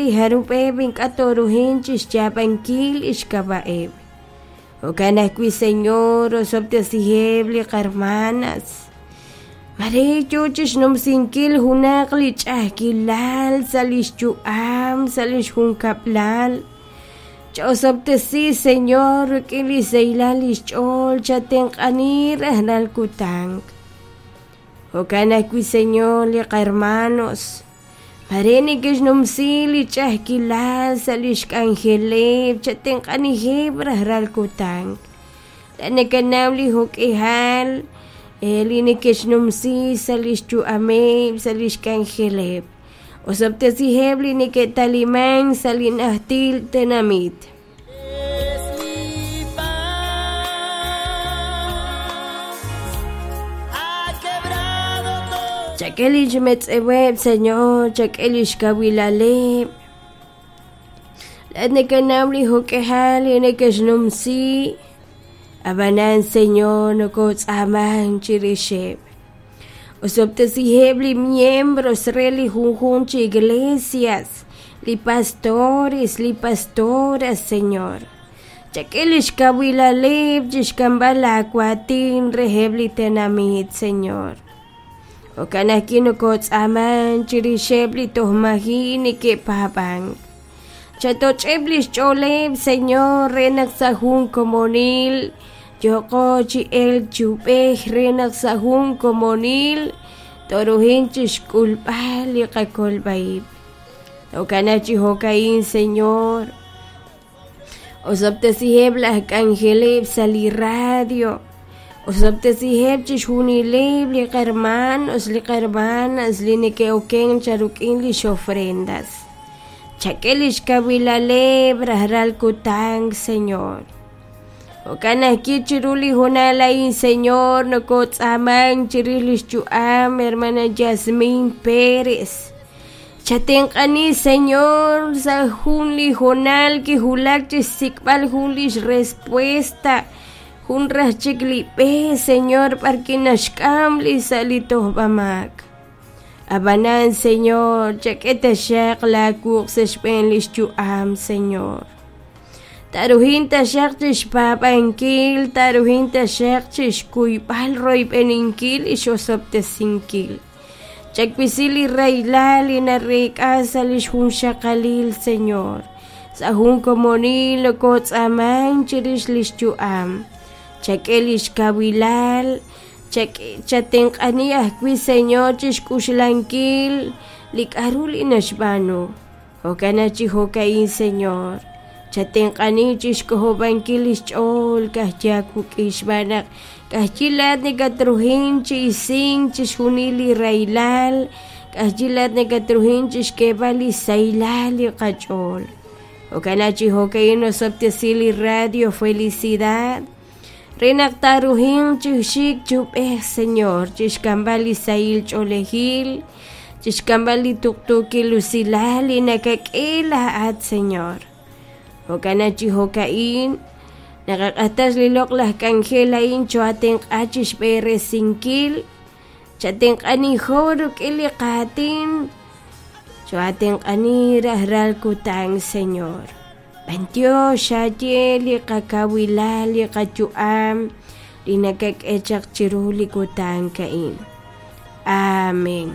li jarub'eb' ink'a' tooruhin chi xyaab'ankil xk'ab'a'eb'. Jo'kan ajwi', Señor, osob'tesiheb' li qarmanas. Mare yo chi xnumsinkil junaq li ch'a'ajkilal sa' li xyu'am, sa' li xjunkab'lal. Cha'osob'tesi, Señor, rik'in li sahilal li xch'ool, chatenq'ani rajlal kutan. Jo'kan ajwi', Señor, li qarmanos. Mare neke'xnumsi li ch'a'ajkilal sa' li xk'anjeleb', chatenq'aniheb' rajlal kutan. Laa'at nakanaw li jo'k'ihal li neke'xnumsi sa' li xyu'ameb', sa' li xk'anjeleb'. Osob'tesiheb' li neke'talimank sa' li najtil tenamit. Es mi paz. Ha quebrado todo. Chak'e li xmetz'eweb', Señor, chak'e li xkawilaleb'. Laa'at nakanaw li jo'k'ihal li neke'xnumsi, ab'anan, Señor, nokootz'aamank chirixeb'. Osob'tesiheb' li miembros re li junjunq chi iglesias, li pastores, li pastoras, Señor. Chak'e li xkawilaleb' chi xk'amb'al laawaatin reheb' li tenamit, Señor. Jo'kan ajwi' nokootz'aamank chirixeb' li toj maji' neke'paab'ank. Chatoch'eb' li xch'ooleb', Señor, re naq sa' jun komonil yooqo chi elk chi ub'ej re naq sa' jun komonil tooruhin chi xk'ulb'al li qakolb'a-ib'. Jo'kanaq chi jo'ka'in, Señor. Osob'tesiheb' laj k'anjeleb' sa' li radio. Osob'tesiheb' chixjunileb' li qarmanos, li qarmanas li neke'oken charuk'in lix ofrendas. Chak'e lix kawilaleb' rajlal kutan, Señor. Jo'kan ajwi' chiru li hoonal a'in, Señor, nokotz'aamank chirix lix yu'am hermana Yasmin Pérez. Chatenq'ani, Señor, sa' jun li hoonal kiwulak chi xsik'b'al jun lix respuesta, jun raj chik li b'e, Señor, b'arwi' naxk'am li sa' li tojb'amaak. Ab'anan, Señor, chak'e taxaq laawuq' sa' xb'een li xyu'am, Señor. Taaruhin taxaq chi xpaab'ankil, taaruhin taxaq chi xkuyb'al royb'eninkil li xosob'tesinkil. Chawisi li rahilal li nareek'a sa' li xjunxaqalil, Señor. Sa' jun komonil nokootz'aamank chirix li xyu'am. Chak'e li xkawilal, chatenq'ani ajwi', Señor, chi xk'uxlankil li k'aru li naxb'aanu. Jo'kan naq chi jo'ka'in, Señor, chatenq'ani chi xk'ojob'ankil li xch'ool ka'ajwi' aawik'in xb'aan naq ka'ajwi' laa'at nakatruhin chi isink chixjunil li rahilal, ka'ajwi' laa'at nakatruhin chi xk'eeb'al li sahilal li qach'ool. Jo'kan naq chi jo'ka'in osob'tesi li Radio Felicidad re naq taaruhinq chi xik chi ub'ej, Señor, chi xk'amb'al li sahil ch'oolejil, chi xk'amb'al li tuqtuukil usilal li nakak'e laa'at, Señor. Jo'kan naq chi jo'ka'in naqaq'axtas li loq'laj k'anjel a'in choo'atenq'a chi xb'eresinkil, chatenq'anijo rik'in li qaatin, choo'atenq'ani rajlal kutan, Señor. B'antiox xaye li qakawilal, li qayu'am, li nakak'e chaq chiru li kutan a'in. Amén.